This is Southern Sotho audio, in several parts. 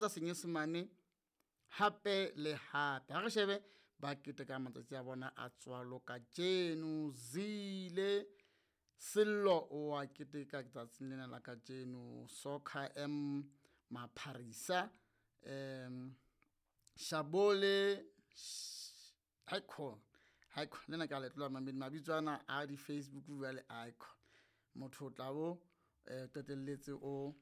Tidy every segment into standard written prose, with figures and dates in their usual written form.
Tsa Senyesemane hape le hape. Ha re shebe ba keteka matsatsi a bona a tswalo kajeno. Zile Sello o a keteka tsatsing lena la kajeno. Soccer M Mapharisa, Shabole Icon, Icon lena ke a le tlola mamedi mabitso ana a di-Facebook jwale icon. Motho o tla bo qetelletse o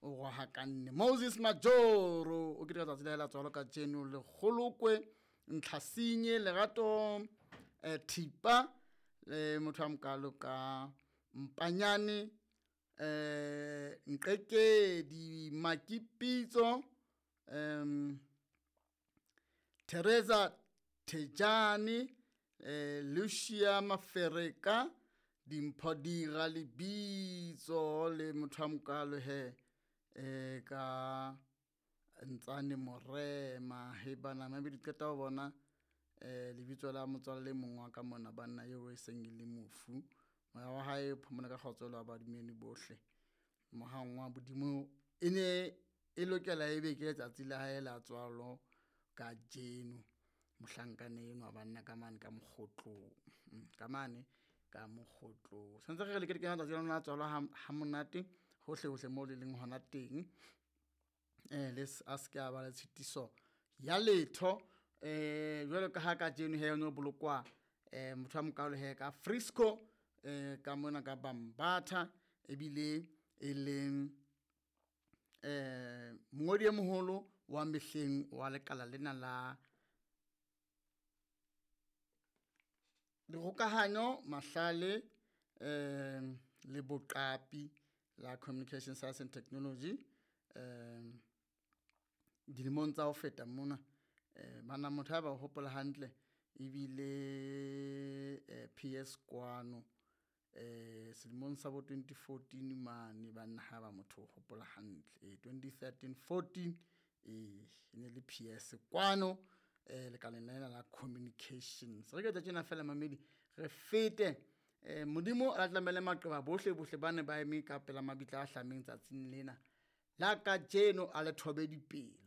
o rohakanne. Moses Majoro o keteka tsatsi la hae la tswalo kajeno. Lekgolokwe Ntlhasinye Lerato Thipa le motho a mokalo ka Mpanyane, Nqekedi Makipitso, Teresa Thejane, Lucia Mafereka, Dimpho Dira lebitso le motho a mokalo he ka Ntsane Morema. He bana maybe di qeta ho bona lebitso la motswalle mong wa ka mona banna eo e seng e le mofu. Moya wa hae o phomole ka kgotso le wa badumedi bohle. Mohang wa Modimo e ne e lokela ebe ke letsatsi la hae la tswalo kajeno. Mohlankana enwa banna ka mane ka Mokgotlong, ka mane ka Mokgotlong. Santse re re le keteke matsatsi a lona a tswalo ha monate hohle hohle moo le leng hona teng. Le a se ke a ba le tshitiso ya letho. Jwalo ka ha kajeno he no bolokwa motho a mokalo he ka Frisco, ka mona ka Bambatha, ebile e leng mongodi e moholo wa mehleng wa lekala lena la dikgokahanyo, mahlale, le boqapi la Communication Science and Technology. Dilemong tsa ho feta mona, bana motho ha ba o hopola hantle ebile PS kwano selemong sa bo 2014 mane banna ha ba motho o hopola hantle 2013 14, e ne le PS kwano lekaleng lena la communications. Re ke tsa tjena fela mamedi re fete. Modimo a tlamele maqeba bohle bohle ba ne ba eme ka pela mabitla a hlameng tsatsing lena la kajeno, a le thobe dipelo.